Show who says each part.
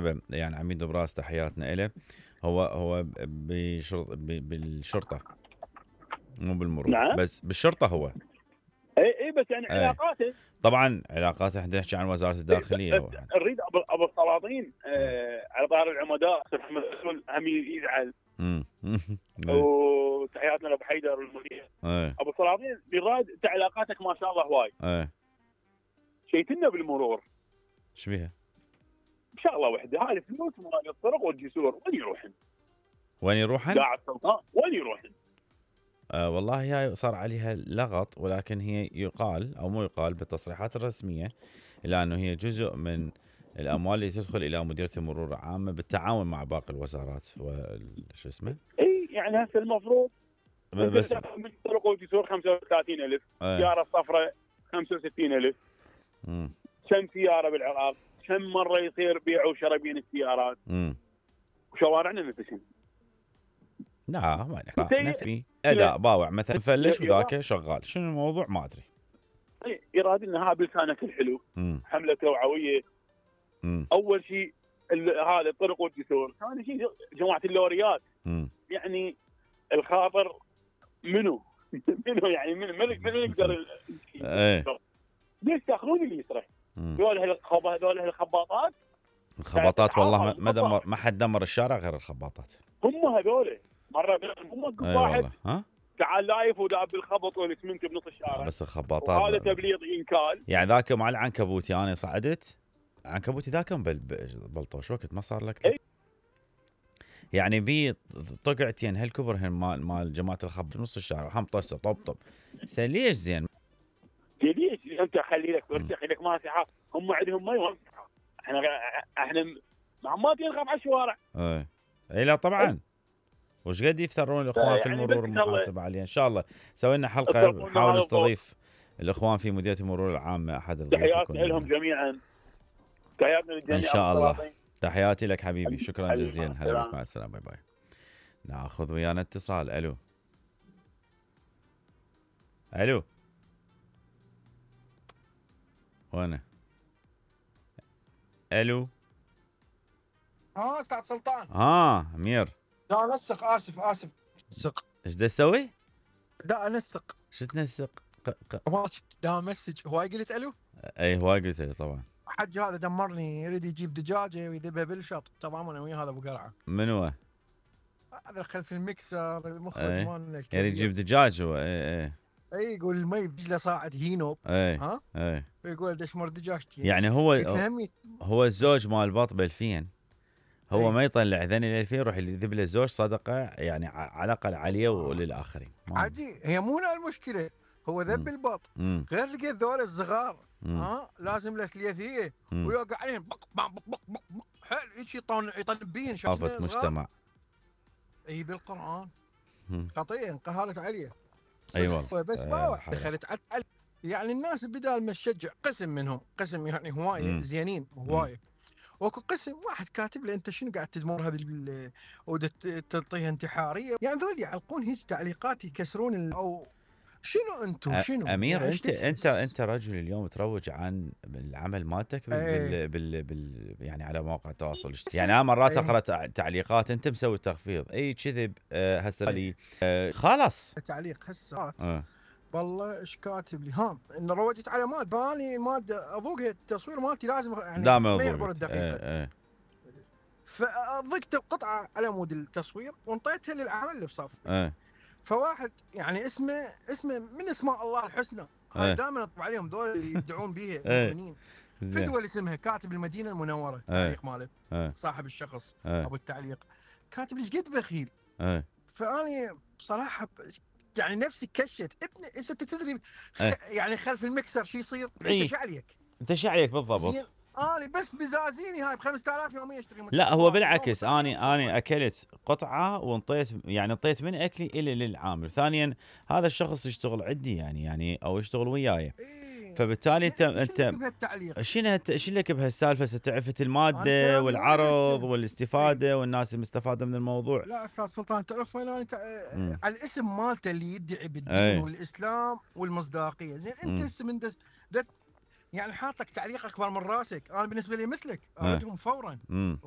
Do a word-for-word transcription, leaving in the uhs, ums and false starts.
Speaker 1: بالمناسبة يعني عميد براس تحياتنا إله. هو هو بشرط بالشرطة مو بالمرور.
Speaker 2: نعم.
Speaker 1: بس بالشرطة هو.
Speaker 2: اي اي بس يعني
Speaker 1: أي.
Speaker 2: علاقاته
Speaker 1: طبعا علاقاته، احنا نحكي عن وزارة الداخلية. هو
Speaker 2: نريد ابو ابو السلاطين آه على طار العمداء محمد رسول هم يزعل. وتحياتنا لابو حيدر المدير. ابو السلاطين براد انت علاقاتك ما شاء الله هواي.
Speaker 1: ايه
Speaker 2: شيتنا بالمرور.
Speaker 1: ايش بيها؟
Speaker 2: بشغله وحده، هاي الفلوس مال الطرق والجسور وين يروحن؟
Speaker 1: وين يروحن؟
Speaker 2: قاعد السلطان وين يروحن؟
Speaker 1: آه والله هي صار عليها لغط، ولكن هي يقال او مو يقال بالتصريحات الرسميه الى انه هي جزء من الاموال اللي تدخل الى مديريه المرور العامه بالتعاون مع باقي الوزارات وشو اسمه.
Speaker 2: اي يعني هسه المفروض
Speaker 1: بس
Speaker 2: من الطرق والجسور خمسة وثلاثين ألف، سياره صفراء خمسة وستين ألف.
Speaker 1: امم
Speaker 2: كم سياره بالعراق؟ كم مره يصير بيع وشراء بين السيارات؟
Speaker 1: امم
Speaker 2: وشوارعنا نفسهم.
Speaker 1: لا ما نفي اداء باوع مثلا فلش وذاك شغال. شنو الموضوع ما ادري.
Speaker 2: يراد انها بلسانك الحلو.
Speaker 1: مم.
Speaker 2: حمله توعويه.
Speaker 1: مم.
Speaker 2: اول شيء هذا الطرق والجسور، ثاني شيء جماعه اللوريات.
Speaker 1: مم.
Speaker 2: يعني الخاطر منو منو يعني من من يقدر
Speaker 1: ايه
Speaker 2: ليش تاخذون اللي يسرح؟ ذول هالخبا ذول هالخباطات.
Speaker 1: الخباطات والله ما دمر ما حد دمر الشارع غير الخباطات. هم
Speaker 2: هذول مره هم
Speaker 1: ايه
Speaker 2: واحد
Speaker 1: ها
Speaker 2: تعال لايف وداب بالخبط والاسمنت بنص الشارع.
Speaker 1: بس الخباطات
Speaker 2: هذا تبليغ انكال.
Speaker 1: يعني ذاك مع العنكبوتي انا صعدت عنكبوتي ذاك بلطوش وقت ما صار لك.
Speaker 2: ايه؟
Speaker 1: يعني بي طقعتين هالكبر مال مال جماعه الخبط بنص الشارع هم طسه طب طب ليش زين؟
Speaker 2: ليش انت خلي لك خلي لك ماسحه، هم عندهم ما يوسعوا. احنا احنا ما نخاف على الشوارع.
Speaker 1: ايه اي لا طبعا. وش قد يفترون الاخوان في المرور المحاسبه عليه. ان شاء الله سوي لنا حلقه نحاول نستضيف الاخوان في مديريه المرور العامه احد الضيوف.
Speaker 2: تحياتنا لهم جميعا. تحياتنا للجميع
Speaker 1: ان شاء الله. تحياتي لك حبيبي. شكرا جزيلا. هلا بك. مع السلامه. باي باي. ناخذ ويانا اتصال. الو الو وانا الو
Speaker 3: ها استاذ سلطان.
Speaker 1: ها امير.
Speaker 3: لا انسق. اسف اسف انسق.
Speaker 1: ايش دا تسوي؟
Speaker 3: دا انسق.
Speaker 1: شو تنسق؟
Speaker 3: دا مسج. هواي قلت الو؟
Speaker 1: اي هواي قلت الو طبعا.
Speaker 3: حج هذا دمرني، يريد يجيب دجاجه ويذبها بالشط. تمام انا ويا هذا ابو قرعه.
Speaker 1: من هو؟
Speaker 3: هذا خلف المكسر المخرج مالنا.
Speaker 1: يريد يجيب دجاج هو. اي اي
Speaker 3: اي يقول المي بجله صاعد هينوب.
Speaker 1: اي
Speaker 3: ها؟
Speaker 1: اي
Speaker 3: يقول دشمر دجاجتي.
Speaker 1: يعني هو هو الزوج مال بط بالفين. هو
Speaker 3: أي.
Speaker 1: ما يطلع ذني للفين يروح يذب له زوج صدقه يعني على الاقل عليه وللاخرين.
Speaker 3: عادي هي مو المشكله. هو ذب البط غير لقيت ذول الصغار ها لازم له ثلاثيه ويوقع عليهم بق بق بق بق بق حلو هيك يطن يطن بين
Speaker 1: شافت مجتمع.
Speaker 3: اي بالقران خطيه انقهرت عليه.
Speaker 1: اي والله
Speaker 3: بس باوع دخلت على يعني الناس بدال ما تشجع قسم منهم قسم يعني هوايه زينين هوايه. وكو قسم واحد كاتب له انت شنو قاعد تدمرها بال وتعطيها انتحاريه. يعني ذول يعلقون هيك تعليقات يكسرون او شنو انتم شنو
Speaker 1: امير. يعني انت انت انت رجل اليوم تروج عن العمل مالتك بال, بال, بال, بال يعني على مواقع التواصل الاجتماعي. يعني انا مرات اقرا تعليقات انت مسوي تخفيض اي كذب. أه هسه لي أه خلاص
Speaker 3: تعليق هسه أه. والله ايش كاتب لي ها ان روجت على ماد بالي ماده اضوقها التصوير مالتي لازم يعني ما يعبر الدقيقه.
Speaker 1: اه اه.
Speaker 3: فضقت القطعه على مود التصوير وانطيتها للعمل اللي بصف.
Speaker 1: اه.
Speaker 3: فواحد يعني اسمه اسمه من اسماء الله الحسنى. هاي دائما اطبع عليهم ذول اللي يدعون بيها المؤمنين. في دول اسمها كاتب المدينه المنوره. التعليق ماله صاحب الشخص ابو التعليق كاتب ايش قد بخيل. فاني بصراحه يعني نفسي كشت ابني. انت تدري يعني خلف المكسر شو يصير؟ انت شو عليك؟
Speaker 1: انت شو عليك بالضبط؟
Speaker 3: اني بس بزازيني هاي ب خمسة آلاف يوميا اشتري.
Speaker 1: لا هو بالعكس اني اني اكلت قطعه وانطيت يعني انطيت من اكلي الى للعامل. ثانيا هذا الشخص يشتغل عندي يعني يعني او يشتغل وياي. فبالتالي انت انت شنو شنو لك بهالسالفه؟ ستعرفت الماده والعرض والاستفاده والناس المستفاده من الموضوع.
Speaker 3: لا استاذ سلطان تعرف وين انا على الاسم مالته اللي يدعي بالدين والاسلام والمصداقيه. زين انت هسه من يعني حاط لك تعليق اكبر من راسك. انا بالنسبه لي مثلك اردهم فورا.